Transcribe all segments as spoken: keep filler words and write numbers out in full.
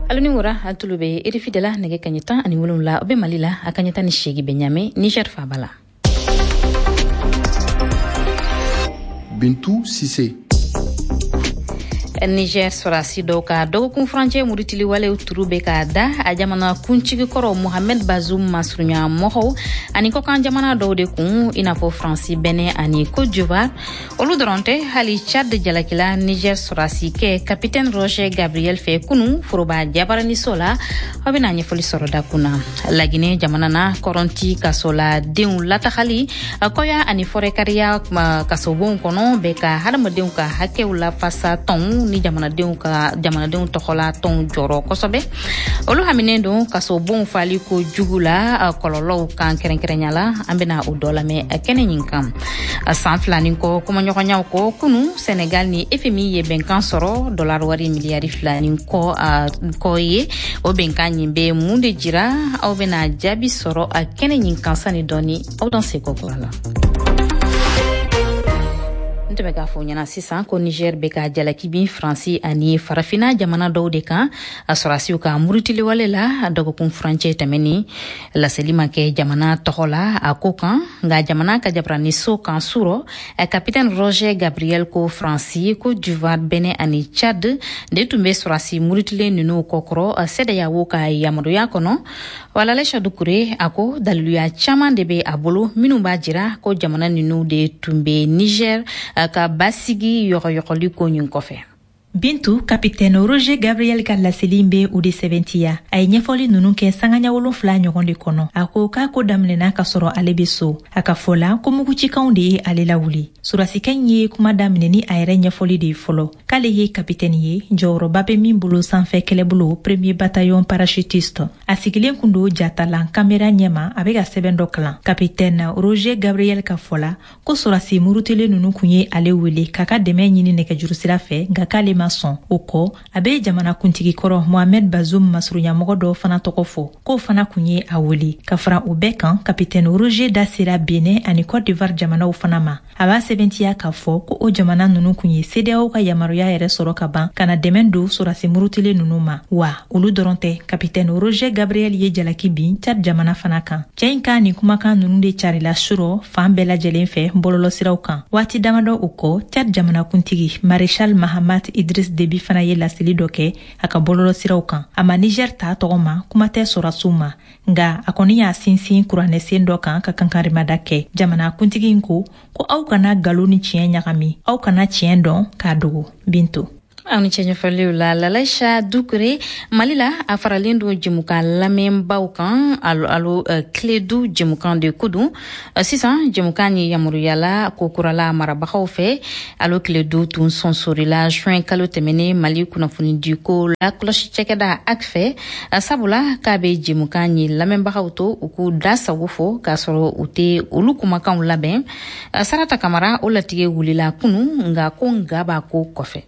Alu ni wura, a tulu bɛ R F I de la. Nɛgɛ kaɲɛ tan ani wolonwula, o bɛ Mali la, a kaɲɛ tan ni seegin bɛ Ɲame, Niger faaba la. Bintu Sise. Niger sɔrɔdasi dɔw ka dɔgɔkun furancɛ murutili walew turu bɛ ka da a jamana kuntigi kɔrɔ Mohamed Bazoum masurunya mɔgɔw ani kɔkan jamana dɔw de kun, i n'a fɔ Faransi, Bɛnɛ ani Côte d'Ivoire. Olu dɔrɔn tɛ, hali Chad jalakila Niger sɔrɔdasi kɛ capitaine Roger Gabriel fɛ kunu foroba jabaraniso la. Aw bɛna ɲɛfɔli sɔrɔ dakun na. Laginɛ jamana na, kɔrɔnti kasoladenw latagali kɔya ani fɔrɛkariya kasobonw kɔnɔ bɛ ka hadamadenw ka hakɛw lafasa tɔnw ni jamanadenw ka jamanadenw tɔgɔla tɔnw jɔrɔ kosɛbɛ. Olu haminen don kasobonw fali ko jugu la kɔlɔlɔw kan kɛrɛnkɛrɛnya la. An bɛna o dɔ lamɛn kɛnɛ ɲin kan. San fila ni kɔ kumaɲɔgɔnyaw kɔ, kunu Senegal ni F M I ye bɛnkan sɔrɔ dollar wari miliyari fila ni kɔ kɔ ye. O bɛnkan ɲin bɛ mun de jira? Aw bɛna jaabi sɔrɔ a kɛnɛ ɲin kan sani dɔɔni. Aw dan se kɔ la. N tun bɛ k'a fɔ ɲɛna sisan ko Niger bɛ ka jalaki bin Faransi ani Farafina jamana dɔw de kan a sɔrɔdasiw ka murutiliwale la dɔgɔkun furancɛ tɛmɛni. Laseli ma kɛ jamana tɔgɔ la a ko kan, nka jamana ka jabaraniso kan surɔ, capitaine Roger Gabriel ko Faransi, Côte d'Ivoire, Bɛnɛ ani Chad de tun bɛ sɔrɔdasi murutilen ninnu kɔkɔrɔ CEDEAO ka yamaruya kɔnɔ. Walalɛ Dukure a ko daliluya caman de bɛ a bolo minnu b'a jira ko jamana ninnu de tun bɛ Niger ka basigi yɔgɔyɔgɔli ko ɲin kɔfɛ. Bintu, capitaine Roger Gabriel ka laseli bɛ o de sɛbɛntiya. A ye ɲɛfɔli ninnu kɛ sangaɲa wolonfila ɲɔgɔn de kɔnɔ. A ko k'a ko daminɛna ka sɔrɔ ale bɛ so. A ka fɔ la ko mugucikanw de ye ale lawuli. Sɔrɔdasikɛ in ye kuma daminɛ ni a yɛrɛ ɲɛfɔli de ye fɔlɔ, k'ale ye capitaine ye, jɔyɔrɔba bɛ min bolo sanfɛ kɛlɛbolo, premier bataillon parachutiste. A sigilen kun don jatalan kamera ɲɛma, a bɛ ka sɛbɛn dɔ kalan. Capitaine Roger Gabriel ka fɔ la ko sɔrɔdasi murutilen ninnu kun ye ale wele k'a ka dɛmɛ ɲini nɛgɛjuru sira fɛ, nka k'ale ma sɔn. O kɔ, a bɛ jamana kuntigi kɔrɔ Mohamed Bazoum masurunyamɔgɔ dɔw fana tɔgɔ fɔ, k'o fana kun ye a wele. Ka fara o bɛɛ kan, capitaine Roger da sera Benin ani Côte d'Ivoire jamanaw fana ma. A b'a sɛbɛntiya k'a fɔ ko o jamana ninnu kun ye CEDEAO ka yamaruya yɛrɛ sɔrɔ ka ban ka na dɛmɛ don sɔrɔdasi murutilen ninnu ma. Wa olu dɔrɔn tɛ, capitaine Roger Gabriel ye jalaki bin Tchad jamana fana kan. Cɛ in ka nin kumakan ninnu de carila surɔ fan bɛɛ lajɛlen fɛ bɔlɔlɔsiraw kan. Waati damadɔ o kɔ, Tchad jamanakuntigi Maréchal Mahamat Idriss Déby fana ye laseli dɔ kɛ a ka bɔlɔlɔsiraw kan. A ma Niger ta tɔgɔ ma, kuma tɛ sɔrɔdasiw ma, nka a kɔni y'a sinsin kuranɛsen dɔ kan ka kankarimada kɛ. Jamanakuntigi in ko ko aw kana nkalon ni tiɲɛ ɲagami, aw kana tiɲɛ dɔn k'a dogo. Binto. Aw ni cɛ ɲɛfɔliw la, Lalaisa Dukure. Mali la, a faralen don jɛmukan lamɛnbaw kan alo, alo uh, Kledu jɛmukan de ko don. uh, sisan jɛmukan ye yamaruyala ko kurala marabagaw fɛ. Alo Kledu tun sɔnsorila juin kalo tɛmɛnen Mali kunnafonidiko lakɔlɔsi cɛkɛda A C F fɛ, uh, sabula k'a bɛ jɛmukan ye lamɛnbagaw to u k'u da sago fɔ k'a sɔrɔ u tɛ olu kumakanw labɛn. uh, sarata Kamara, o latigɛ wulila kunu, nka ko nga b'a ko kɔfɛ.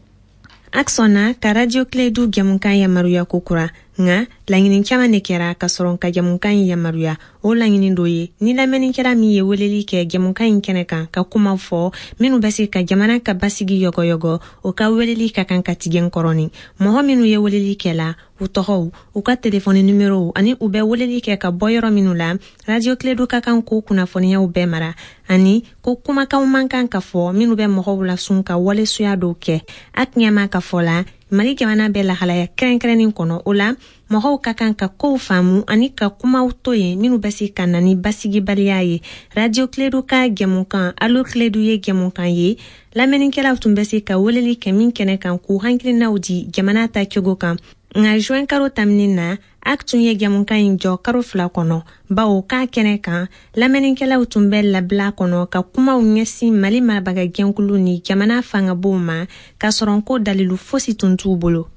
A C F sɔnna ka Radio Kledu jɛmukan yamaruya ko kura, nka laɲini caman de kɛra ka sɔrɔ ka jɛmukan in yamaruya. O laɲini dɔ ye ni lamɛnnikɛla min ye weleli kɛ jɛmukan in kɛnɛ kan ka kuma fɔ minnu bɛ se ka jamana ka basigi yɔgɔyɔgɔ, o ka weleli ka kan ka tigɛ kɔrɔni. Mɔgɔ minnu ye weleli kɛ la, u tɔgɔw, u ka telefɔni numérow ani u bɛ weleli kɛ ka bɔ yɔrɔ minnu la, Radio Kledu ka kan k'o kunnafoniyaw bɛɛ mara, ani ko kumakanw man kan ka fɔ minnu bɛ mɔgɔw lasun ka walesuya dɔw kɛ. A ɲɛma ka fɔ la, Mali jamana bɛ lahalaya kɛrɛnkɛrɛnnin kɔnɔ. O la, mɔgɔw ka kan ka kow faamu ani ka kumaw to yen minnu bɛ se ka na ni basigibaliya ye. Radio Kledu ka jɛmukan Alo Kledu ye jɛmukan ye lamɛnnikɛlaw tun bɛ se ka weleli kɛ min kɛnɛ kan k'u hakilinaw di jamana ta cogo kan. Nka juin kalo tamini na, A C F tun ye jɛmukan in jɔ karo fila kɔnɔ, bawo k'a kɛnɛ kan lamɛnnikɛlaw tun bɛ labila kɔnɔ ka kumaw ɲɛsin Mali marabagajɛkulu ni jamana fangabow ma, k'a sɔrɔ ko dalilu fosi tun t'u bolo.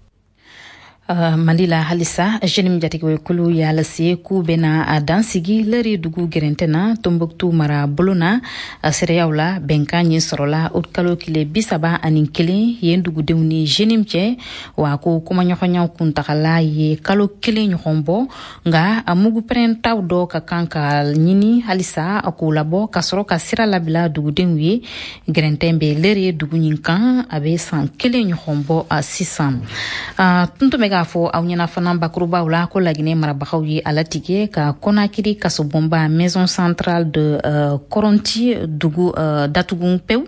Uh, mali la halisa, JNIM jatigɛwɛkulu y'a lase k'u bena a dansigi Lɛri dugu gɛrɛntɛ na Tombouctou mara bolo na. Seereyaw la, bɛnkan ɲin sɔrɔla o kalo kile bi saba ani kelen yen dugudenw ni JNIM cɛ. Wa ko kumaɲɔgɔnyaw kuntagala ye kalo kelen ɲɔgɔn bɔ, nka a mugu pɛrɛntaw dɔ ka kan ka ɲini halisa k'o labɔ ka sɔrɔ ka sira labila dugudenw ye. Gɛrɛntɛn bɛ Lɛri dugu ɲin kan, a bɛ san kelen ɲɔgɔn bɔ sisan. Tun tun bɛ k'a k'a fɔ aw ɲɛna fana bakurubaw la ko Laginɛ marabagaw ye a latigɛ ka Conakry kasobonba Maison centrale de uh, Coronthie dugu uh, datugu pewu.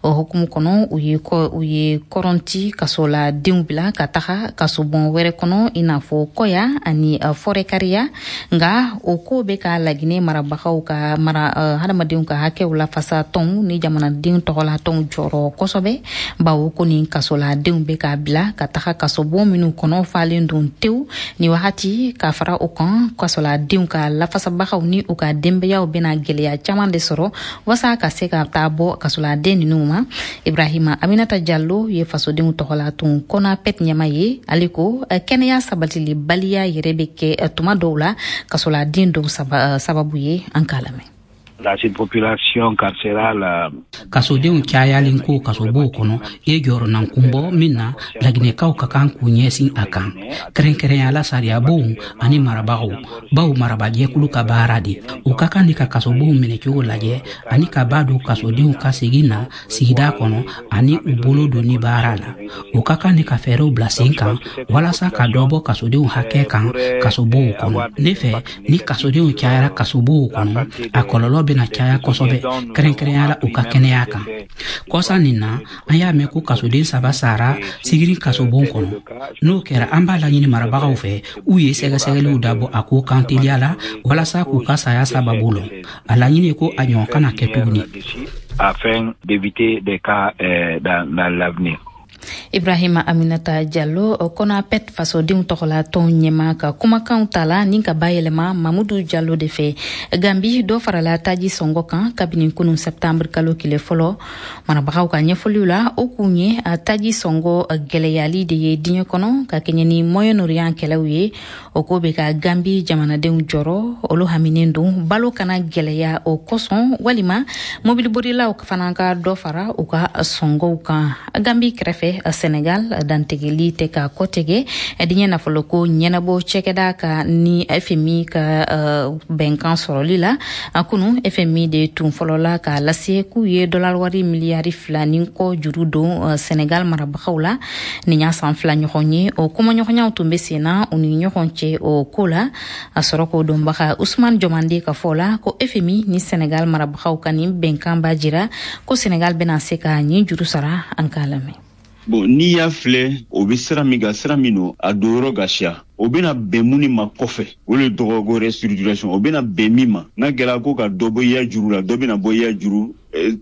O hukumu kɔnɔ, u ye u ye Coronthie kasoladenw bila ka taga kasobon wɛrɛ kɔnɔ, i n'a fɔ Kɔya ani uh, Forécariah. Nka o ko bɛ ka Laginɛ marabagaw ka mara uh, hadamadenw ka hakɛw lafasa tɔnw ni jamanadenw tɔgɔla tɔnw jɔrɔ kosɛbɛ, bawo ko nin kasoladenw bɛ ka bila ka taga kasobon minnu kɔnɔ falen don tewu ni wagati. Ka fara o kan, kasoladenw ka lafasabagaw ni u ka denbayaw bɛna gwɛlɛya caman de sɔrɔ wasa ka se ka taa bɔ kasoladen ninnu ma. Ibrahima Aminata Jallo ye fasodenw tɔgɔla tun CONAPED ɲɛma ye. Ale ko kɛnɛya sabatilibaliya yɛrɛ bɛ kɛ tuma dɔw la kasoladen dɔw sababu ye. An k'a lamɛn. Dans une population carcérale. Kasodenw cayalen ko kasobow kɔnɔ ye jɔrɔnan kunbɔ min na, Laginɛkaw ka kan k'u ɲɛsin a kan, kɛrɛnkɛrɛnyala sariyabonw ani marabagaw, baw marabajɛkulu ka baara de u ka kan ni ka kasobow minɛcogo lajɛ ani ka ba don kasodenw ka segin na sigida kɔnɔ ani u bolo donni baara la. U ka kan ni ka fɛɛrɛw bila sen kan walasa ka dɔ bɔ kasodenw hakɛ kan kasobow kɔnɔ. Ne fɛ, ni kasodenw cayara kasobow kɔnɔ, a kɔlɔlɔ bɛna caya kosɛbɛ, kɛrɛnkɛrɛnya la u ka kɛnɛya kan. Kɔsa nin na, an y'a mɛn ko kasoden saba sara Sigiri kasobon kɔnɔ. N'o kɛra, an b'a laɲini marabagaw fɛ u ye sɛgɛsɛgɛliw dabɔ a ko kan teliya la walasa k'u ka saya sababu lɔn. A laɲini ye ko a ɲɔgɔn kana kɛ tuguni. Afin d'éviter des cas euh, dans, dans l'avenir. Ibrahima Aminata Jallo, CONAPED fasodenw tɔgɔla tɔn ɲɛma ka kumakanw tala ni ka bayɛlɛma Mamudu Jallo de fɛ. Gambi, dɔ farala taji sɔngɔ kan kabini kunun septembre kalo kile fɔlɔ. Marabagaw ka ɲɛfɔliw la, o kun ye a taji sɔngɔ gwɛlɛyali de ye diɲɛ kɔnɔ ka kɛɲɛ ni Moyen-Orient kɛlɛw ye. O ko bɛ ka Gambi jamanadenw jɔrɔ. Olu haminen don balo kana gwɛlɛya o kosɔn, walima mobiliborilaw fana ka dɔ fara u ka sɔngɔw kan. Gambi kɛrɛfɛ, Senegal, dantigɛli tɛ ka kɔtigɛ diɲɛ nafoloko ɲɛnabɔ cɛkɛda ka ni F M I ka uh, bɛnkan sɔrɔli la. Kunu, F M I de tun fɔlɔla k'a lase k'u ye dollar wari miliyari fila ni kɔ juru don uh, Senegal marabagaw la. Nin y'a san fila ɲɔgɔn ye o kumaɲɔgɔnyaw tun bɛ sen na u ni ɲɔgɔn cɛ o ko la. A sɔrɔ k'o dɔnbaga Usman Jɔmande ka fɔ la ko F M I ni Senegal marabagaw ka nin bɛnkan b'a jira ko Senegal bɛna se ka nin juru sara. An k'a lamɛn. Bon, n'i y'a filɛ, o bɛ sira min kan, sira min don a donyɔrɔ ka siya, o bɛna bɛn mun ma kɔfɛ, o de tɔgɔ ko restructuration. O bɛna bɛn min ma, n'a kɛra ko ka dɔ bɔ i ya juru la, dɔ bɛna bɔ i ya juru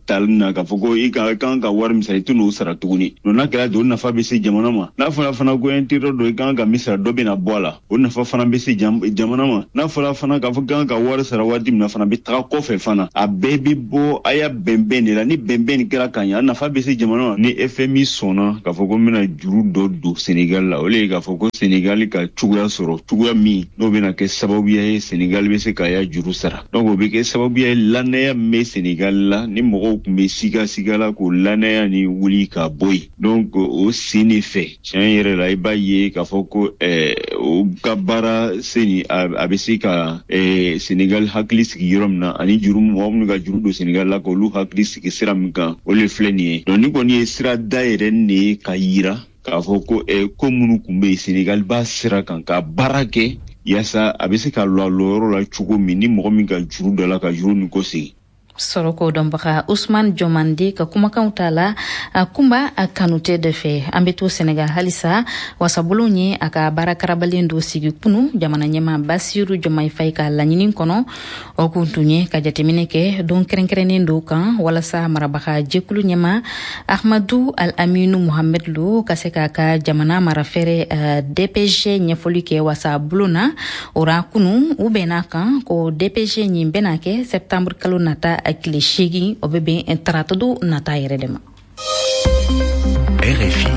tali na k'a fɔ ko i ka kan ka wari min sara, i tɛ n'o sara tuguni. Donc n'a kɛra ten, o nafa bɛ se jamana ma. N'a fɔra fana ko intérêt dɔ i kan ka min sara, dɔ bɛna bɔ a la, o nafa fana bɛ se jamana ma. N'a fɔra fana k'a fɔ kan ka wari sara waati min na fana bɛ taga kɔfɛ fana, a bɛɛ bɛ bɔ a y'a bɛnbɛn de la. Ni bɛnbɛn nin kɛra ka ɲɛ, a nafa bɛ se jamana ma. Ni F M I sɔnna k'a fɔ ko n bɛna juru dɔ don Senegal la, o de ye k'a fɔ ko Senegal ka cogoya sɔrɔ, cogoya min n'o bɛna kɛ sababuya ye Senegal bɛ se k'a ya juru sara. Donc o bɛ kɛ sababuya ye, lanaya min bɛ Senegal la, ni mɔgɔw tun bɛ siga siga la, k'o lanaya ni wuli ka bɔ yen. Donc o sen de fɛ, tiɲɛ yɛrɛ la, i b'a ye k'a fɔ ko ɛɛ o ka baara sen nin, a bɛ se ka ɛɛ Senegal hakili sigi yɔrɔ min na, ani juru mɔgɔ minnu ka juru don Senegal la, k'olu hakili sigi sira min kan, o de filɛ nin ye. Donc ni kɔni ye sira dayɛlɛ nin ye ka yira k'a fɔ ko ɛ ko minnu tun bɛ yen, Senegal b'a sira kan ka baara kɛ yaasa a bɛ se ka lɔ a lɔyɔrɔ la cogo min, ni mɔgɔ min ka juru dɔ la, ka juru nin kɔsegin. Sɔrɔ k'o dɔnbaga Usman Jɔmande ka kumakanw ta la Kunba Kanute de fɛ. An be to Senegal halisa. Wasabulon ye a ka baara karabalen dɔ sigi kunu jamana ɲɛma Basiru Jɔmai Fay ka laɲini kɔnɔ. O kun tun ye ka jateminɛ kɛ don kɛrɛnkɛrɛnnen dɔw kan walasa marabaga jɛkulu ɲɛma Ahmadu Al Aminu Muhamed Lo ka se k'a ka jamana marafɛrɛ uh, D P G ɲɛfɔli kɛ wasabulon na. O ra kunu, u bɛnna kan ko D P G ɲin bɛna kɛ septembre kalo nata tile seegin, o bɛ bɛn taratado nata yɛrɛ de ma. R F I.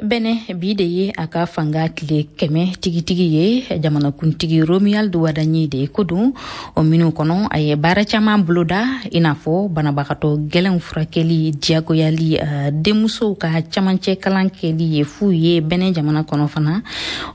Bɛnɛ, bi de ye a ka fanga tile kɛmɛ tigitigi ye. Jamanakuntigi Romuald Wadagni de ko don. O minnu kɔnɔ, a ye baara caman boloda, i n'a fɔ banabagatɔ gɛlɛnw furakɛli diyagoyali, uh, denmusow ka camancɛ kalan kɛli ye fu ye Bɛnɛ jamana kɔnɔ fana.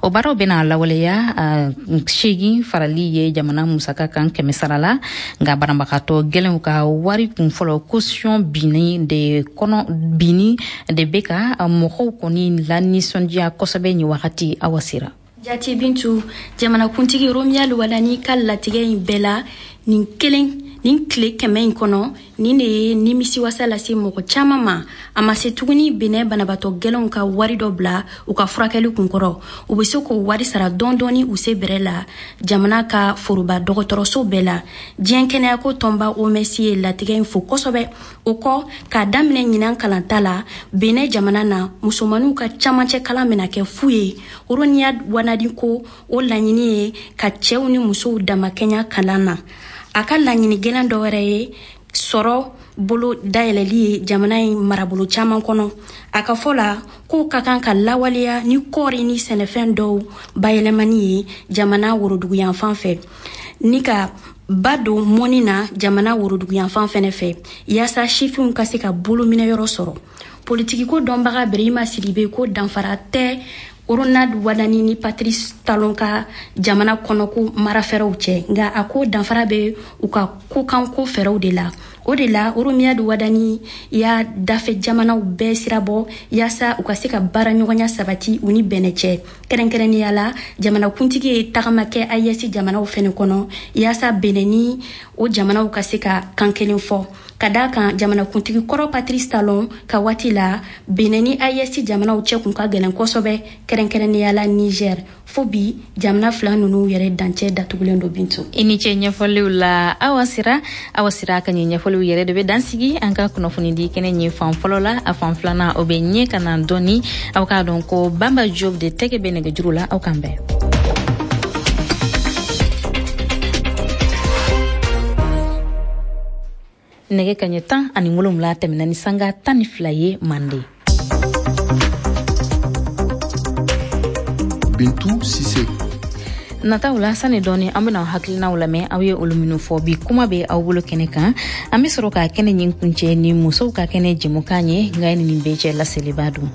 O baaraw bɛna lawaleya uh, seegin farali ye jamana musaka kan kɛmɛ sara la. Nka banabagatɔ gɛlɛnw ka wari kun fɔlɔ, caution binni de kɔnɔ, binni de bɛ ka mɔgɔw kɔni la nisɔndiya kosɛbɛ nin wagati. Awa Sira. Jati Bintu, jamanakuntigi Romuald Wadani ka latigɛ in bɛɛ la nin kelen nin tile kɛmɛ in kɔnɔ, nin de ye nimisiwasa lase mɔgɔ caman ma. A ma se tuguni Benɛ banabaatɔ gɛlɛnw ka wari dɔ bila u ka furakɛli kunkɔrɔ. U bɛ se k'o wari sara dɔɔni dɔɔni u se bɛrɛ la jamana ka foroba dɔgɔtɔrɔso bɛɛ la. Diɲɛ kɛnɛyako tɔnba O M S ye latigɛ in fo kosɛbɛ. O kɔ, k'a daminɛ ɲinan kalanta la Benɛ jamana na, musomaninw ka camancɛ kalan bɛna kɛ fu ye. Romuald Wadani ko o laɲini ye ka cɛw ni musow damakɛɲa kalan na. A ka laɲini gɛlɛn dɔ wɛrɛ ye sɔrɔ bolo dayɛlɛli ye jamana in marabolo caman kɔnɔ. A ka fɔ la k'o ka kan ka lawaleya ni kɔɔri ni sɛnɛfɛn dɔw bayɛlɛmani ye jamana woroduguyanfan fɛ, ni ka ba don mɔni na jamana woroduguyanfan fɛnɛ fɛ, yaasa sifinw ka se ka bolominɛyɔrɔ sɔrɔ. Politikiko dɔnbaga Berehima Sidibe ko danfara tɛ Ronald Wadani ni Patrice Talon ka jamana kɔnɔko marafɛɛrɛw cɛ, nka a ko danfara bɛ u ka kokanko fɛɛrɛw de la. O de la, Romuald Wadani y'a dafɛ jamanaw bɛɛ sirabɔ yaasa u ka se ka baara ɲɔgɔnya sabati u ni Bɛnɛ cɛ. Kɛrɛnkɛrɛnnenya la, jamanakuntigi ye tagama kɛ A E S jamanaw fɛnɛ kɔnɔ yaasa Bɛnɛ ni o jamanaw ka se ka kan kelen fɔ, ka daa kan jamanakuntigi kɔrɔ Patrice Talon ka waati la, Benɛ ni A E S jamanaw cɛ kun ka gɛlɛn kosɛbɛ, kɛrɛnkɛrɛnnenya la Niger. Fo bi, jamana fila nunu yɛrɛ dancɛ datugulen do. Bintu. I ni ce ɲɛfɔliw la, Awa Sira. Awa Sira ka ɲɛ ɲɛfɔliw yɛrɛ de bɛ dansigi an ka kunnafoni di kɛnɛ ɲɛ fan fɔlɔ la. A fan filanan, o bɛ ɲɛ ka na dɔɔni. Aw k'a dɔn ko Bamba Job de tɛgɛ bɛ nɛgɛjuru la. Aw k'an bɛn. Nɛgɛ kaɲɛ tan ani wolonwula tɛmɛna ni sanga tan ni fila ye mande. Bintu Sise. Nataw la, sani dɔɔni an bena hakilinaw lamɛn aw ye olu minnu fɔ. Bi kuma bɛ aw bolo kɛnɛ kan. An be sɔrɔ ka kɛnɛ ɲin kuncɛ ni musow ka kɛnɛ jɛmukan ye. Nka ni nin bɛɛ cɛ, laseliba don.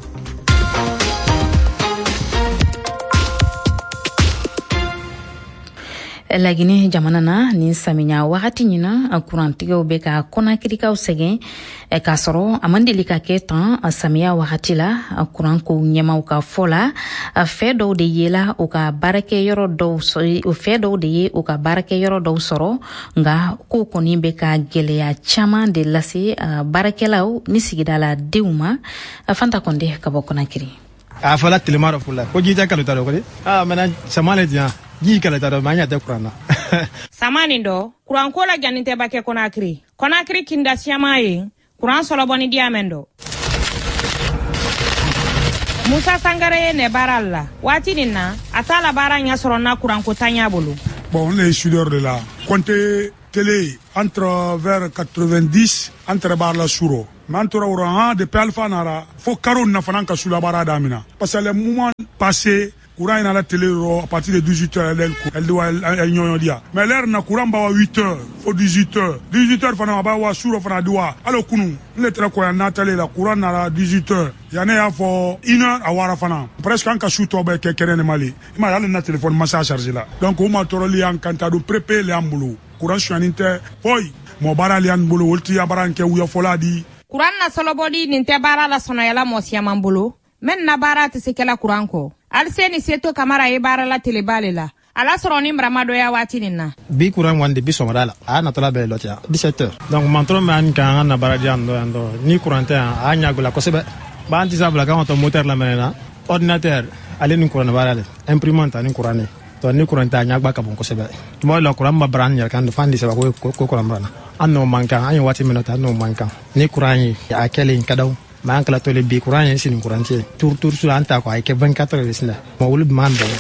Lagine jamana na, nin samiya wagati ɲina, kurantigɛw bɛ ka Kɔnakirikaw sɛgɛn, k'a sɔrɔ a man deli ka kɛ tan samiya wagati la. Kuran ko ɲɛmaw ka fɔ la, fɛ dɔw de yela u ka baarakɛyɔrɔ dɔw, fɛ dɔw de ye u ka baarakɛyɔrɔ dɔw sɔrɔ, nka ko kɔni bɛ ka gɛlɛya caman de lase baarakɛlaw ni sigidala denw ma. Fanta Kɔnde ka bɔ Kɔnakiri. A fɔla tilema dɔ fula ko ji tɛ kalo ta dɔ kɔni. Ah, maintenant sama le diyan ji kala ta dɔ ma ɲa tɛ kuran na. Sama nin dɔ, kuranko la janin tɛ ba kɛ Kɔnakiri. Kɔnakiri kinda siyaman ye kuran sɔlɔbɔ ni diya mɛn dɔ. Musa Sangare ye nɛ baara la waati nin na, a t'a la baara ɲɛ sɔrɔ na kuranko tanya bolo. Bon, on est soudeur de la compté télé entre vers quatre-vingt-dix entre bar la suro. Mais an tora o han depuis Alpha nara fo karo na fana ka sula baara damina, parce que le moment passé, courant ina la télé à partir de dix-huit heures, elle elle doit elle ɲɔɲɔ dia. Mais l'heure na courant ba wa huit heures fo dix-huit heures, dix-huit heures fana ba wa suro fana doit alo kunu ne tɛrɛ ko ya natale la courant nara dix-huit heures yanni y'a fɔ une heure a wara fana presque an ka su tɔ bɛɛ kɛ kɛnɛ ne mali i ma hali na téléphone masa chargé la. Donc o ma tɔɔrɔli y'an kan ta don prépayé le y'an bolo, courant suyani tɛ foyi mɔ baara le y'an bolo, olu ti ya baara kɛ wuyafɔla di. Kuran na sɔlɔbɔli nin tɛ baara la sɔnɔyala mɔ siyaman bolo mɛn na baara tɛ se kɛla kuran kɔ. Aliseni Seto Kamara ye baara la teleba le la, ala sɔrɔ ni maramadɔya waati nin na. Bi kuran wande bi sɔgɔmada la a natɔla bɛɛ lɔtiya dix-sept heures. Donc mantɔrɔ min an kan an na baara di yan dɔ yan dɔ ni kuran tɛ yan, a ɲagola kosɛbɛ. B'an tɛ sabula k'an ka taa moteur lamɛnɛ na ordinateur ale ni kuran baara le, imprimante ani kuran ne. Donc ni kuran tɛ, a ɲagba ka bon kosɛbɛ. Tuma dɔ la kuran ma bara an yɛrɛ kan fan de saba ko ko kuran bara na an n'o man kan. An ye waati min na ta an n'o man kan ni kuran ye a kɛlen ka daw mais an kala tole bi kuran ye sini kuran tɛ tur tur su an ta ko a ye kɛ vingt-quatre heures de la ma olu b'an dɛmɛ.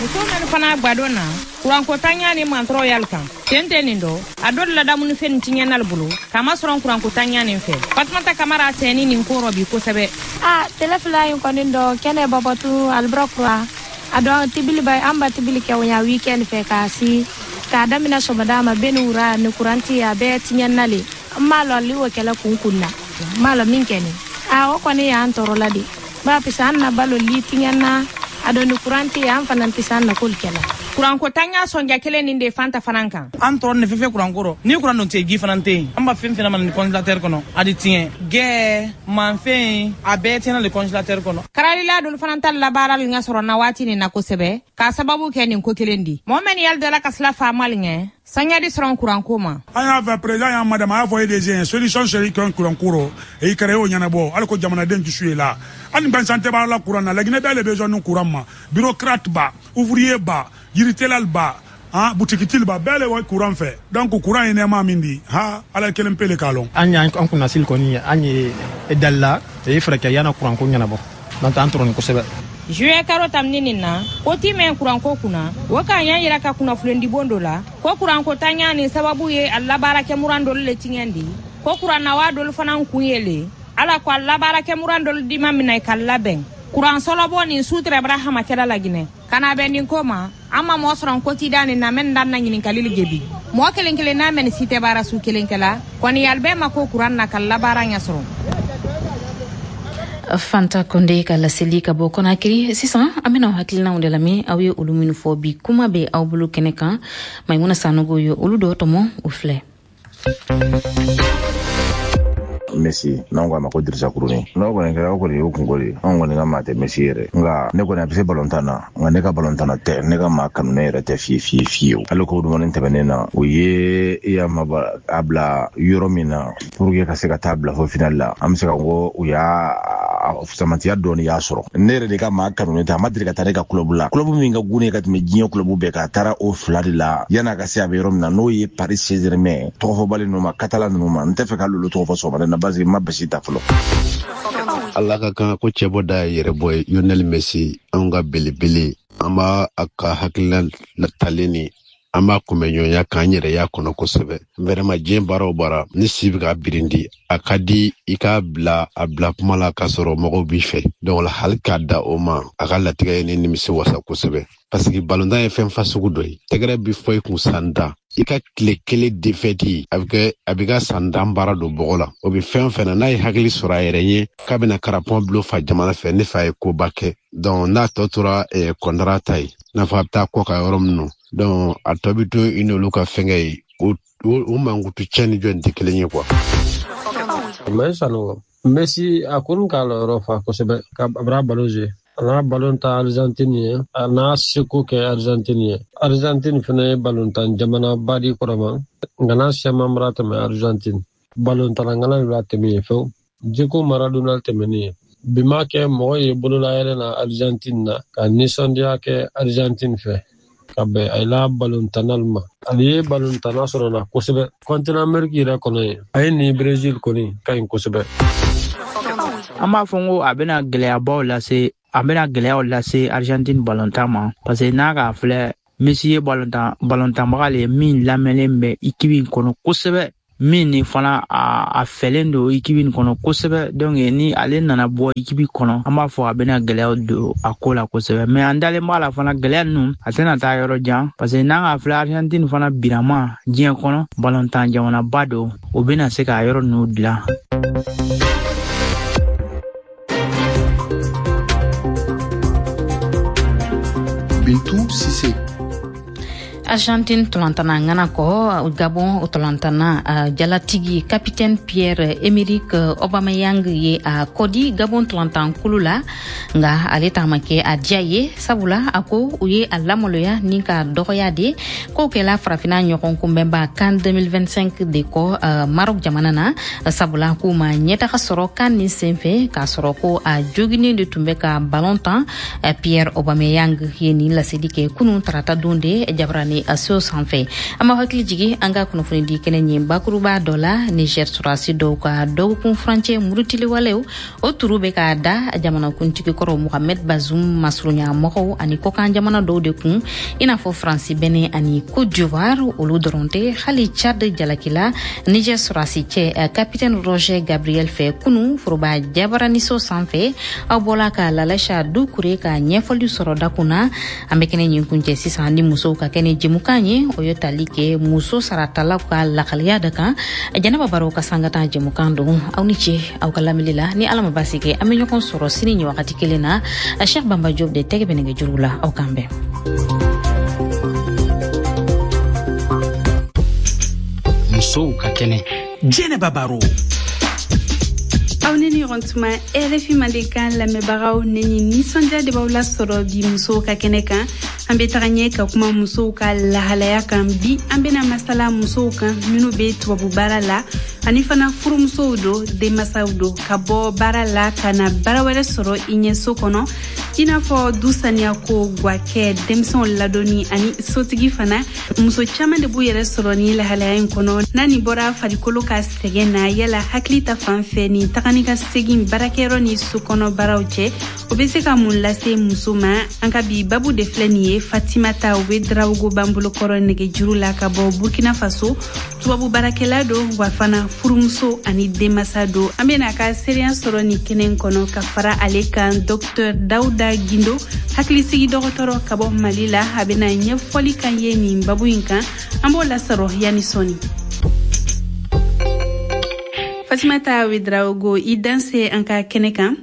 Muso nani fana gbadon na kurankotanya ni mantɔrɔ yali kan ten tɛ nin dɔ a dɔ ladamunifɛn nin tiɲɛnali bolo k'a masɔrɔ kurankotanya nin fɛ. Fatumata Kamara sɛni nin ko rɔ bi kosɛbɛ. A tele fila in kɔni dɔ kɛnɛ bɔbɔtu alibura kura a dɔn tibili ba an ba tibili kɛ o ɲa weekend fɛ k'a si k'a daminɛ sɔgɔmada ma bɛ ni wura ni kuranti a bɛɛ tiɲɛna le. N m'a lɔn li o kɛlɛ kun kun na n m'a lɔn min kɛ nin a o kɔni y'an tɔɔrɔ la de ba pisa an na balo li tiɲɛna a dɔn ni kuranti an fana tɛ se an na k'olu kɛla. Kuranko tanya sɔnja kelen nin de Fanta fana kan. An tɔɔrɔ ne fɛn fɛn kuranko rɔ ni kuran dun tɛ ji fana tɛ yen an b'a fɛn fɛn ma ni congélateur kɔnɔ a di tiɲɛ gɛɛ manfɛn a bɛɛ tiɲɛna le congélateur kɔnɔ. Karalila dolu fana ta labaara ŋa sɔrɔ na waati nin na kosɛbɛ k'a sababu kɛ nin ko kelen di mɔgɔ mɛn ni yali dala ka sila faamali ŋɛ sanya di sɔrɔ kuranko ma. An y'a fɛ président y'an madame a y'a fɔ E D G solution seri kɛ kuranko rɔ e kɛra y'o ɲɛnabɔ hali ko jamanaden dusu ye la hali gansan tɛ b'a la kuran na Laginɛ bɛɛ le besoin ni kuran ma bureaucrate ba ouvrier ba jiritelal ba ah butikitili ba bɛɛ le wa kuran fɛ donc kuran ye nɛɛma min di ha ala kelen pe le k'a lɔn. An y'an kunnasili kɔni an ye dalila e fɛɛrɛ kɛ yana kuranko ɲɛnabɔ n'o tɛ an tɔɔrɔ ni kosɛbɛ. Juillet karo tamni nin na ko ti mɛn kuranko kunna o k'an y'a yira ka kunnafonidibon dɔ la ko kuranko tanya nin sababu ye a labaarakɛ muran dɔlu le tiɲɛ di ko kurannawa dɔlu fana kun ye le ala ko a labaarakɛ muran dɔlu di ma minɛ ka labɛn kuran sɔlɔbɔ nin su tɛrɛ bara hamakɛla Laginɛ ka na bɛn nin ko ma an ma mɔɔ sɔrɔ ko ti da nin na mɛn dan na ɲininkali le jebi mɔɔ kelen kelen n'a mɛn si tɛ baara su kelen kɛla kɔni yali bɛɛ ma ko kuran na ka labaara ɲɛ sɔrɔ. Fanta Konde ka laseli ka bɔ Conakry. Sisan an bɛna hakilinaw de lamɛn aw ye olu minnu fɔ bi kuma bɛ aw bolo kɛnɛ kan. Maimuna Sanogo ye olu dɔ tɔmɔ o filɛ. Messi n'anw k'a ma ko Dirisa Kuruni n'aw kɔni kɛra aw kɔni y'o kungo de ye anw kɔni ka maa tɛ Messi yɛrɛ nka ne kɔni a bɛ se balontan na nka ne ka balontan na tɛ ne ka maa kanu ne yɛrɛ tɛ fiye fiye fiyewu hali ko dumuni tɛmɛnen na o ye yama a bila yɔrɔ min na pour que ka se ka taa bila fo final la an bɛ se ka ko u y'a samatiya dɔɔni y'a sɔrɔ ne yɛrɛ de ka maa kanu ne tɛ a ma deli ka taa ne ka club la club min ka gun ne ka tɛmɛ diɲɛ club bɛɛ kan a taara o fila de la yan'a ka se a bɛ yɔrɔ min na n'o ye Paris Saint-Germain tɔgɔfɔbali ninnu ma Catalan ninnu ma n tɛ fɛ ka olu tɔgɔ fɔ sɔgɔmada na parce que n ma basi ta fɔlɔ. Ala ka kan ko cɛ bɔ da ye yɛrɛ bɔ ye Lionel Messi anw ka belebele an b'a a ka hakilina talen ni an b'a kunbɛ ɲɔgɔnya k'an yɛrɛ y'a kɔnɔ kosɛbɛ vraiment diɲɛ baara o baara ni si bɛ ka birindi a ka di i k'a bila a bila kuma la k'a sɔrɔ mɔgɔw b'i fɛ donc hali k'a da o ma a ka latigɛ ye ne nimisi wasa kosɛbɛ parce que balontan ye fɛn fasugu dɔ ye tɛgɛrɛ bi fɔ i kun san tan i ka tile kelen defɛti a bɛ kɛ a bɛ ka san tan baara don bɔgɔ la o bɛ fɛn fɛn na n'a ye hakili sɔrɔ a yɛrɛ ye k'a bɛna karapɔn bulon fa jamana fɛ ne fa ye koba kɛ donc n'a tɔ tora kɔndara ta ye n'a fɔ a bɛ taa kɔ kan yɔrɔ min na donc a tɔ bɛ to i n'olu ka fɛnkɛ ye o o mankutu cɛ ni jɔn tɛ kelen ye quoi. Maïsano Messi a kun k'a lɔyɔrɔ fa kosɛbɛ ka a bara ballon jouer a n'a ballon ta Argentine ye a n'a seko kɛ Argentine ye Argentine fana ye ballontan jamanaba di kɔrɔma nka n'a siyaman bara tɛmɛ Argentine ballontan ŋana de b'a tɛmɛ yen fewu Diego Maradona tɛmɛnen ye bi ma kɛ mɔgɔ ye bololayɛlɛ na Argentine na ka nisɔndiya kɛ Argentine fɛ ka bɛn a la balontannalu ma ale ye balontanna sɔrɔ na kosɛbɛ continent Amérique yɛrɛ kɔnɔ yen a ye ni Brésil kɔni ka ɲi kosɛbɛ. An b'a fɔ n ko a bɛna gɛlɛyabaw lase a bɛna gɛlɛyaw lase Argentine balontan ma parce que n'a k'a filɛ Messi ye balontan balontanbaga le ye min lamɛnlen bɛ équipe in kɔnɔ kosɛbɛ min ni fana a, a fɛlen don équipe in kɔnɔ kosɛbɛ donc ni ale nana bɔ équipe kɔnɔ an b'a fɔ a bɛna gɛlɛyaw don a ko la kosɛbɛ mais an dalen b'a la fana gɛlɛya ninnu a tɛna taa yɔrɔ jan parce que n'an k'a filɛ Argentine fana birama diɲɛ kɔnɔ balontan jamanaba don o bɛna se k'a yɔrɔ ninnu dilan. Bintou Cissé. Argentine tolantana ŋana kɔ Gabon tolantana uh, jalatigi capitaine Pierre-Emerick Aubameyang ye a kɔdi Gabon tolantan kulu la nga ale taama kɛ a diya ye sabula a ko u ye a lamaloya ni ka dɔgɔya de k'o kɛla farafina ɲɔgɔn kunbɛnba CAN deux mille vingt-cinq de kɔ uh, Maroc jamana na sabula k'u ma ɲɛtaga sɔrɔ CAN nin senfɛ k'a sɔrɔ ko a joginen de tun bɛ ka ballon tan. uh, Pierre Aubameyang ye nin laseli kɛ kunun tarata don de jabarani a so sanfɛ. An b'aw hakili jigi an ka kunnafoni di kɛnɛ ɲin bakuruba dɔ la Niger sɔrɔdasi dɔw ka dɔgɔkun furancɛ murutiliwalew o turu bɛ k'a da jamanakuntigi kɔrɔ Mohamed Bazoum masurunya mɔgɔw ani kɔkan jamana dɔw de kun i n'a fɔ Faransi, Benin ani Côte d'Ivoire. Olu dɔrɔn tɛ, hali Tchad jalakila Niger sɔrɔdasi cɛ capitaine Roger Gabriel fɛ kunun foroba jabaraniso sanfɛ. Aw bɔla ka Lalacha Dukure ka ɲɛfɔli sɔrɔ dakun na. An bɛ kɛnɛ ɲin kuncɛ sisan ni musow ka kɛnɛ jɛmukan ye o ye tali kɛ muso saratalaw ka lakaliya de kan. Jɛnɛba Baro ka sangatan jɛmukan don. Aw ni ce aw ka lamɛnni la. Ni Ala ma baasi kɛ an bɛ ɲɔgɔn sɔrɔ sini nin wagati kelen na. Cheikh Bamba Diop de tɛgɛ bɛ nɛgɛjuru la. Aw k'an bɛn. Musow ka kɛnɛ. Jɛnɛba Baro. Aw ni ni ɲɔgɔn tuma R F I Mandenkan lamɛnbagaw, ne ni nisɔndiya de b'aw lasɔrɔ bi musow ka kɛnɛ kan. An bɛ taga ɲɛ ka kuma musow ka lahalaya kan. Bi, an bɛna masala musow kan minnu bɛ tubabu baara la, ani fana furumusow do, denmasaw do, ka bɔ baara la ka na baara wɛrɛ sɔrɔ i ɲɛ so kɔnɔ, i n'a fɔ du saniya ko, gwakɛ, denmisɛnw ladonni ani sotigi fana. Muso caaman de b'u yɛrɛ sɔrɔ ni lahalaya in kɔnɔ. N'a nin bɔra farikolo ka sɛgɛn na, yala hakili ta fan fɛ, nin taga ni ka segin baarakɛyɔrɔ ni so kɔnɔ baaraw cɛ, o be se ka mun lase muso ma? An ka bi babu de filɛ nin ye. Fatimata Ouédraogo b'an bolokɔrɔ nɛgɛjuru la ka bɔ Burkina Faso. Tubabu baarakɛla do, wa fana furumuso ani denmasa do. An bena a ka seereya sɔrɔ nin kɛnɛ kɔnɔ. Ka fara ale kan, Docteur Dawuda Gindo, hakilisigi dɔgɔtɔrɔ ka bɔ Mali la, a bena ɲɛfɔli kan ye nin babu in kan. An b'o lasɔrɔ yani sɔni. Fatimata Ouédraogo, i danse an ka kɛnɛ kan.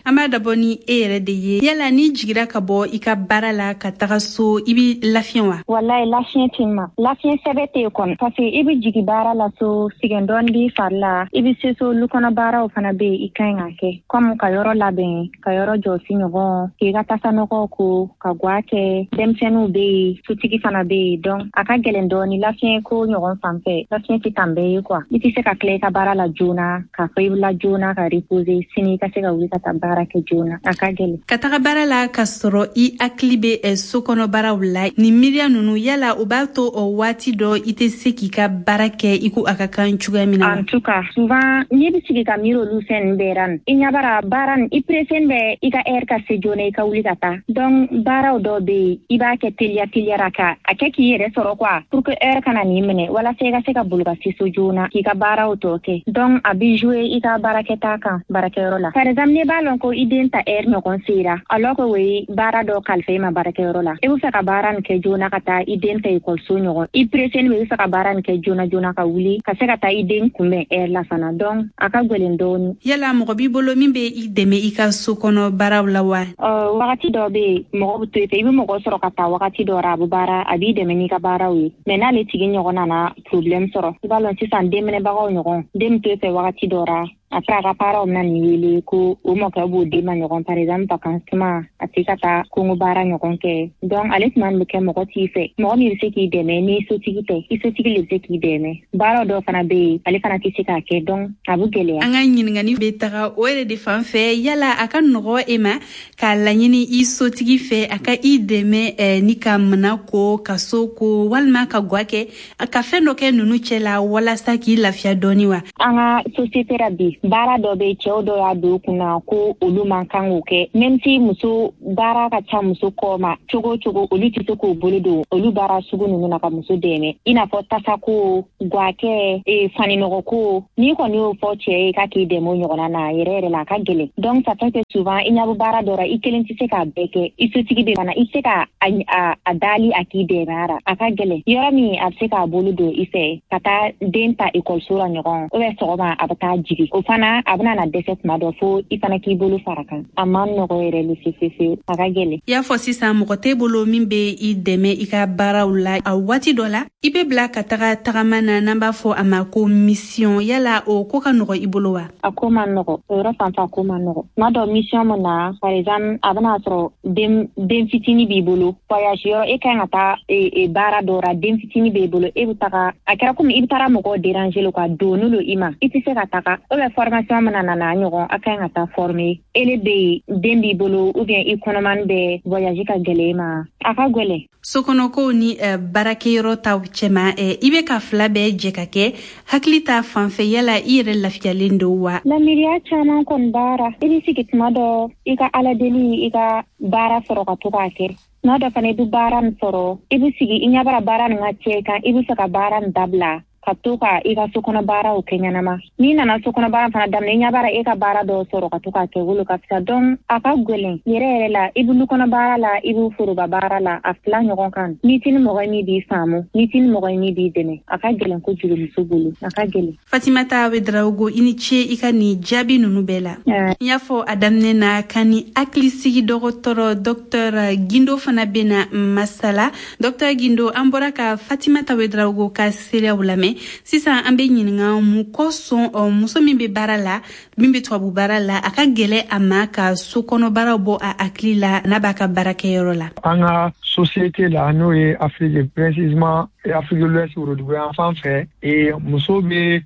An b'a dabɔ ni e yɛrɛ de ye. Yala n'i jigira ka bɔ i ka baara la ka taga so, i bi lafiɲɛ wa? Wallahi, lafiɲɛ tɛ ma, lafiɲɛ sɛbɛ tɛ yen kɔni, parce que i bɛ jigi baara la so, sɛgɛn dɔɔni b'i fari la. I bɛ se so, lukɔnɔ baaraw fana bɛ yen i ka ɲi ka kɛ, comme ka yɔrɔ labɛn, ka yɔrɔ jɔsi ɲɔgɔn, k'i ka tasanɔgɔw ko, ka gwa kɛ. Denmisɛnninw bɛ yen, sotigi fana bɛ yen, donc a ka gɛlɛn dɔɔni. Lafiɲɛ ko ɲɔgɔn fan fɛ, lafiɲɛ tɛ tan bɛɛ ye quoi. I tɛ se ka tila i ka baara la joona k'a fɔ i bɛ la joona ka reposer, sini i ka se ka wuli ka taa baara kɛ joona. A ka gɛlɛn. Ka taga baara la ka sɔrɔ i hakili bɛ so kɔnɔ baaraw la, nin miiriya ninnu, yala o b'a to o waati dɔ i tɛ se k'i ka baara kɛ i ko a ka kan cogoya min na? En tout cas, souvent n'i bɛ sigi ka miiri olu fɛn ninnu bɛɛ la, i ɲɛ b'ara baara nin, i pressé bɛ i ka heure ka se joona, i ka wuli ka taa. Donc baaraw dɔw bɛ yen, i b'a kɛ teliya teliyara ka a kɛ k'i yɛrɛ sɔrɔ quoi, pour que heure kana n'i minɛ, walasa i ka se ka boli ka se so joona k'i ka baaraw tɔ kɛ. Donc a bɛ jouer i ka baarakɛta kan baarakɛyɔrɔ la. Par exemple, n'i b'a lɔn ko i den ta heure ɲɔgɔn sera, alors que o ye baara dɔ kalifa i ma baarakɛyɔrɔ la, i bɛ fɛ ka baara nin kɛ joona ka taa i den ta ekɔliso ɲɔgɔn, i pressé bɛ, i bɛ fɛ ka baara nin kɛ joona joona ka wuli ka se ka taa i den kunbɛn heure la fana. Donc a ka gɛlɛn dɔɔni. Yala mɔgɔ b'i bolo min bɛ i dɛmɛ i ka so kɔnɔ baaraw la wa? Ɔ, wagati dɔ bɛ yen, mɔgɔ bɛ to i fɛ, i bɛ mɔgɔ sɔrɔ ka taa wagati dɔ la, a bɛ baara, a b'i dɛmɛ n'i ka baaraw ye. Mais n'ale tigi ɲɔgɔn nana problème sɔrɔ, i b'a lɔn sisan denminɛbagaw ɲɔgɔn, den bɛ to i fɛ wagati dɔ la, après a ka parents bɛna n'i wele ko o mɔkɛ b'o den ma ɲɔgɔn, par exemple vacances tuma, a tɛ ka taa kongo baara ɲɔgɔn kɛ. Donc ale tuma bɛ kɛ mɔgɔ t'i fɛ, mɔgɔ min bɛ se k'i dɛmɛ n'i sotigi tɛ. I sotigi le bɛ se k'i dɛmɛ. Baara dɔw fana bɛ yen, ale fana tɛ se k'a kɛ, donc a bɛ gɛlɛya. An ka ɲininkali bɛ taga o yɛrɛ de fan fɛ. Yala a ka nɔgɔ e ma k'a laɲini i sotigi fɛ a ka i dɛmɛ eh, ni ka mana ko, ka so ko, walima ka gwa kɛ, ka fɛn dɔ kɛ ninnu cɛ la walasa k'i lafiya dɔɔni wa? An ka société la bi, baara dɔ bɛ, cɛw dɔ y'a don kunna ko olu man kan k'o kɛ, même si muso baara ka ca muso kɔ ma cogo o cogo, olu tɛ se k'o bolo don olu baara sugu ninnu na ka muso dɛmɛ, i n'a fɔ tasako, gwakɛ, e, faninɔgɔko. N'i kɔni y'o fɔ cɛ ye k'a k'i dɛmɛ o ɲɔgɔnna na, yɛrɛ yɛrɛ la, a ka gɛlɛn. Donc ça fait que souvent i ɲɛ bɛ baara dɔ la, i kelen tɛ se k'a bɛɛ kɛ. I sotigi bɛ fana, i tɛ se ka a, a, a dali a k'i dɛmɛ a la. A ka gɛlɛn. Yɔrɔ min a bɛ se k'a bolo don i fɛ ka taa den ta ekɔliso la ɲɔgɔn, ou bien sɔgɔma a bɛ taa jigi, o fana a bɛna na dɛsɛ tuma dɔ, fo i fana k'i bolo fara kan. A man nɔgɔ yɛrɛ le fefefe, a ka gɛlɛn. I y'a fɔ sisan, mɔgɔ t'e bolo min bɛ i dɛmɛ i ka baaraw la. A waati dɔ la, i bɛ bila ka taga tagama na, n'an b'a fɔ a ma ko mission. Yala o ko ka nɔgɔ i bolo wa? A ko man nɔgɔ, o yɔrɔ fan fɛ a ko man nɔgɔ. Tuma dɔ mission min na, par exemple, a bɛna sɔrɔ den den fitinin b'i bolo, voyage yɔrɔ, e kan ka taa e, e, baara dɔ la, den fitinin b'e bolo, e bɛ taga, a kɛra komi i bɛ taara mɔgɔw déranger le quoi, doni lo i ma, i tɛ se ka taga. Ou bien formation mana na na ɲɔgɔn, a kan ka taa former, ele bɛ yen, den b'i bolo, ou bien i kɔnɔmani bɛ, voyage ka gɛlɛn i ma, a ka gɛlɛn. Sokɔnɔkow ni uh, baarakɛyɔrɔ taw cɛma, uh, i bɛ ka fila bɛɛ jɛ ka kɛ, hakili ta fan fɛ, yala i yɛrɛ lafiyalen don wa? Lamiriya caman kɔni baara, i bɛ sigi tuma dɔ, i ka ala deli i ka baara sɔrɔ ka to k'a kɛ. Tuma dɔ fana, i bɛ baara nin sɔrɔ, i bɛ sigi, i ɲɛ bara baara nin ka cɛ kan, i bɛ fɛ ka baara nin dabila ka to ka i ka sokɔnɔ baaraw kɛ ɲɛnama. N'i nana sokɔnɔ baara fana daminɛ, i ɲɛ bara e ka baara dɔw sɔrɔ ka to k'a kɛ, wolo ka fisa. Donc a ka gɛlɛn yɛrɛ yɛrɛ la. I bɛ lukɔnɔ baara la, i bɛ foroba baara la, a fila ɲɔgɔn kan. N'i ti ni mɔgɔ ye min b'i faamu, n'i ti ni mɔgɔ ye min b'i dɛmɛ, a ka gɛlɛn kojugu muso bolo, a ka gɛlɛn. Fatimata Ouédraogo, i ni ce i ka nin jaabi ninnu bɛɛ la. N y'a fɔ a daminɛ na ka ni hakilisigi dɔgɔtɔrɔ Docteur Gindo fana bena masala. Docteur Gindo, an bɔra ka Fatimata Ouédraogo ka seereyaw lamɛn. lamɛn. Sisan an bɛ ɲininka mun kosɔn muso min bɛ baara la, min bɛ tubabu baara la, a ka gɛlɛ a ma ka so kɔnɔ baaraw bɔ a hakili la n'a b'a ka baarakɛyɔrɔ la. An ka société la, n'o ye Afrique, précisément Afrique de l'Ouest, worodugu fan fɛ, e muso bɛ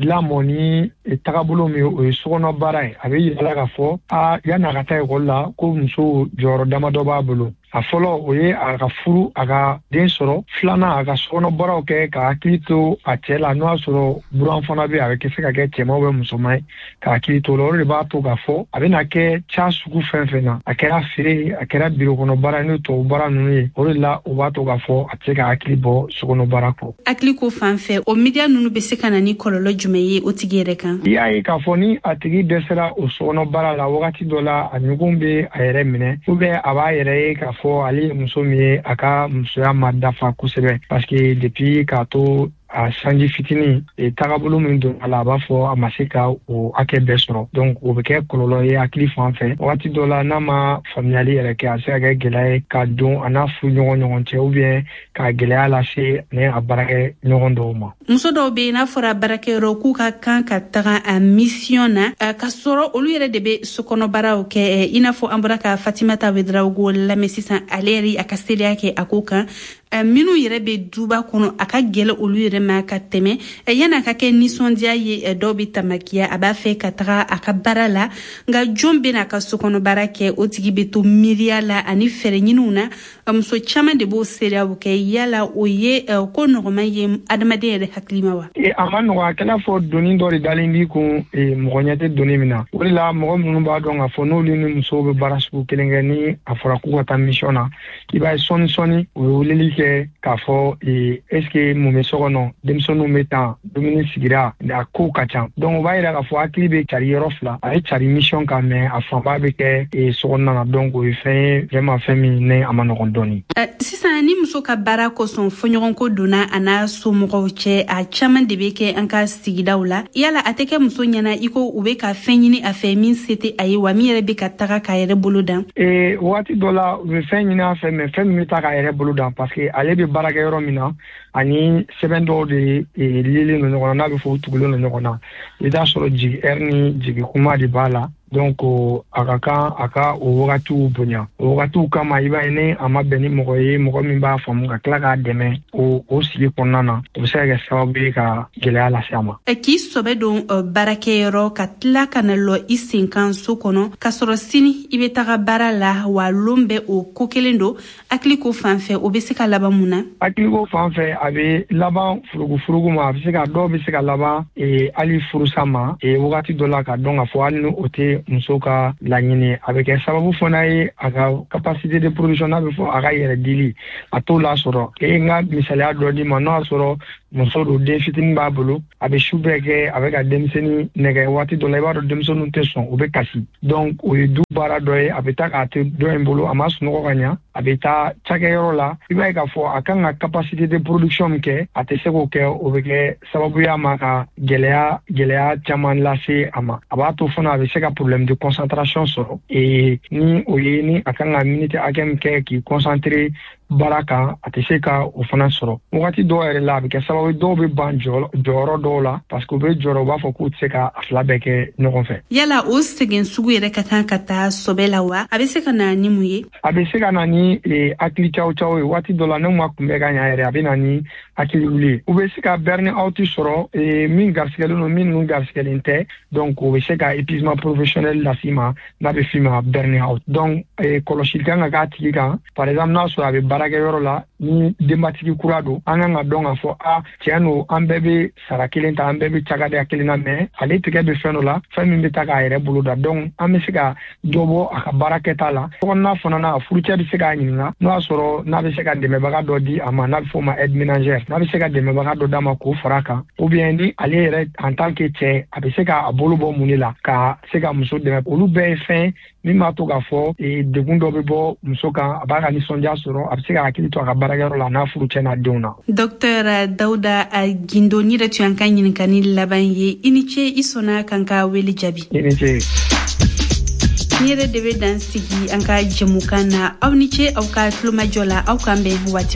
lamɔ ni tagabolo min ye, o ye sokɔnɔ baara ye. A bɛ yira la k'a fɔ a yanni a ka taa ekɔli la, ko muso jɔyɔrɔ damadɔ b'a bolo. A fɔlɔ, o ye a ka furu, a ka den sɔrɔ. Filanan, a ka sokɔnɔ baaraw kɛ, ka hakili to a cɛ la, n'o y'a sɔrɔ buran fana bɛ, a bɛ se ka kɛ cɛman bɛ musoman ye, ka hakili to o la. O de b'a to k'a fɔ a bɛna kɛ ca sugu fɛn fɛn na, a kɛra feere ye, a kɛra biro kɔnɔ baara ye, n'o tubabu baara ninnu ye, o de la o b'a to k'a fɔ a tɛ se ka hakili bɔ sokɔnɔ baara kɔ. Hakili ko fan fɛ, o miiriya ninnu bɛ se ka na ni kɔlɔlɔ jumɛn ye o tigi yɛrɛ kan? I y'a ye k'a fɔ ni a tigi dɛsɛra o sokɔnɔ baara la, wagati dɔ la a ɲugun bɛ a yɛrɛ minɛ, ou bien a b'a yɛrɛ ye k'a fɔ ale ye muso min ye, a ka musoya ma dafa kosɛbɛ, parce que depuis k'a to a sanji fitinin, tagabolo min don a la, a b'a fɔ a ma se ka o hakɛ bɛɛ sɔrɔ. Donc o bɛ kɛ kɔlɔlɔ ye hakili fan fɛ. Wagati dɔ la, n'a ma faamuyali yɛrɛ kɛ, a bɛ se ka kɛ gɛlɛya ye ka don a n'a furu ɲɔgɔn ɲɔgɔn cɛ, ou bien ka gɛlɛya lase ni a baarakɛ ɲɔgɔn dɔw ma. Muso dɔw bɛ yen, n'a fɔra baarakɛyɔrɔ k'u ka kan ka taga a mission na, ka sɔrɔ olu yɛrɛ de bɛ sokɔnɔ baaraw kɛ, i n'a fɔ an bɔra ka Fatimata Ouedraogo lamɛn sisan, ale yɛrɛ a ka seereya kɛ a ko kan. Minnu yɛrɛ bɛ duba kɔnɔ, a ka gɛlɛ olu yɛrɛ ma ka tɛmɛ. Yan'a ka kɛ nisɔndiya ye, dɔw bɛ tamakiya, a b'a fɛ ka taga a ka baara la, nka jɔn bɛ n'a ka sokɔnɔ baara kɛ? O tigi bɛ to miiriya la ani fɛɛrɛ ɲiniw na. Muso caman de b'o seereyaw kɛ. Yala o ye ko nɔgɔman ye adamaden yɛrɛ hakili ma wa? A ma nɔgɔ, a kɛla fɔ doni dɔ de dalen b'i kun, mɔgɔ ɲɛ tɛ doni min na. O de la mɔgɔ minnu b'a dɔn k'a fɔ n'olu ni musow bɛ baara sugu kelen kɛ, ni a fɔra k'u ka taa mission na, i b'a ye sɔɔni sɔɔni u bɛ weleli kɛ k'a fɔ est-ce que mun bɛ so kɔnɔ, denmisɛnninw bɛ tan, dumuni sigira, a kow ka ca. Donc o b'a yira k'a fɔ hakili bɛ cari yɔrɔ fila, a ye cari mission kan, mais a fanba bɛ kɛ so kɔnɔna na. Donc o ye fɛn ye vraiment, fɛn min ne a ma nɔgɔn dɔɔni. Sisan ni muso ka baara kosɔn fɔɲɔgɔnko donna a n'a somɔgɔw cɛ, a caman de bɛ kɛ an ka sigidaw la. Yala a tɛ kɛ muso ɲɛna i ko u bɛ ka fɛn ɲini a fɛ min se tɛ a ye wa, min yɛrɛ bɛ ka taga k'a yɛrɛ bolo dan? Ee waati dɔ la u bɛ fɛn ɲini a fɛ, mais fɛn min bɛ taa k'a yɛrɛ bolo dan, parce que ale bɛ baara kɛ yɔrɔ min na, ani sɛbɛn dɔw de lielen don ɲɔgɔn na, n'a bɛ fɔ u tugulen don ɲɔgɔn na. I t'a sɔrɔ jigi ɛri ni jigi kuma de b'a la. Donc a ka kan a ka o wagatiw bonya. O wagatiw kama, i b'a ye ni a ma bɛn ni mɔgɔ ye, mɔgɔ min b'a faamu ka tila k'a dɛmɛ o o sigi kɔnɔna na, o bɛ se ka kɛ sababu ye ka gɛlɛya lase a ma. K'i sɔbɛ don baarakɛyɔrɔ ka tila ka na lɔ i sen kan so kɔnɔ, k'a sɔrɔ sini i bɛ taga baara la, wa lon bɛ o ko kelen don, hakili ko fan fɛ, o bɛ se ka laban mun na? Hakili ko fan fɛ, a bɛ laban furugufurugu ma, a bɛ se ka dɔw bɛ se ka laban hali furusa ma wagati dɔ la, ka dɔn k'a fɔ hali ni o tɛ muso ka laɲini, a bɛ kɛ sababu fana ye a ka capacité de production, n'a bɛ fɔ a ka yɛrɛ dili, a t'o lasɔrɔ. E n ka misaliya dɔ d'i ma, n'o y'a sɔrɔ muso don, den fitinin b'a bolo, a bɛ su bɛɛ kɛ a bɛ ka denmisɛnnin nɛgɛ. Waati dɔ la, i b'a dɔn denmisɛnninw tɛ sɔn, u bɛ kasi. Donc o ye du baara dɔ ye, a bɛ taa k'a to dɔ in bolo, a ma sunɔgɔ ka ɲa, a bɛ taa cakɛyɔrɔ la, i b'a ye k'a fɔ a kan ka capacité de production min kɛ, a tɛ se k'o kɛ. O bɛ kɛ sababu ye a ma ka gɛlɛya gɛlɛya caman lase a ma. A b'a to fana a bɛ se ka problème de concentration sɔrɔ, et ni o ye ni a kan ka minute hakɛ min kɛ k'i concentrer baara kan, a tɛ se ka o fana sɔrɔ. Wagati dɔw yɛrɛ la, a bɛ kɛ sababu ye dɔw bɛ ban jɔyɔrɔ dɔw la, parce que u bɛ jɔyɔrɔ, u b'a fɔ k'u tɛ se ka a fila bɛɛ kɛ ɲɔgɔn fɛ. Yala o sɛgɛn sugu yɛrɛ ka kan ka taa sɔbɛ la wa? A bɛ se ka na ni mun ye? A bɛ se ka na ni hakili caw caw ye. Waati dɔ la, n'u ma kunbɛ ka ɲa yɛrɛ, a bɛ na ni hakili wuli ye. U bɛ se ka burn out sɔrɔ, min garisigɛlen don, min ninnu garisigɛlen tɛ. Donc o bɛ se ka épuisement professionnel las'i ma, n'a bɛ f'i ma burn out. Donc kɔlɔsili kan ka k'a tigi kan. Par exemple, n'a sɔrɔ a bɛ baarakɛyɔrɔ la, ni denbatigi kura don, an kan ka dɔn k'a fɔ a tiɲɛ don, an bɛɛ bɛ sara kelen ta, an bɛɛ bɛ cakadenya kelen na, mais ale tigɛ bɛ fɛn dɔ la, fɛn min bɛ taa k'a yɛrɛ bolo da. Donc an bɛ se ka dɔ bɔ a ka baara kɛta la. Sokɔnɔna fana na, a furucɛ bɛ se k'a ɲininka n'o y'a sɔrɔ n'a bɛ se ka dɛmɛbaga dɔ di a ma, n'a bɛ f'o ma aide ménagère, n'a bɛ se ka dɛmɛbaga dɔ d'a ma k'o fara a kan, ou bien ni ale yɛrɛ en tant que cɛ, a bɛ se k'a bolo bɔ mun de la ka se ka muso dɛmɛ. Olu bɛɛ ye fɛn min b'a to k'a fɔ degun dɔ bɛ bɔ muso kan, a b'a ka nisɔndiya sɔrɔ, a bɛ se ka hakili to a ka baarakɛyɔrɔ la n'a furucɛ n'a denw na. Docteur Dawuda Gindo, ni yɛrɛ tun y'an ka ɲininkali laban ye. I ni ce, i sɔnna k'an ka wele jaabi. I ni ce. Ni yɛrɛ de bɛ dan sigi an ka jɛmukan na. Aw ni ce aw ka tulomajɔ la, aw k'an bɛn waati.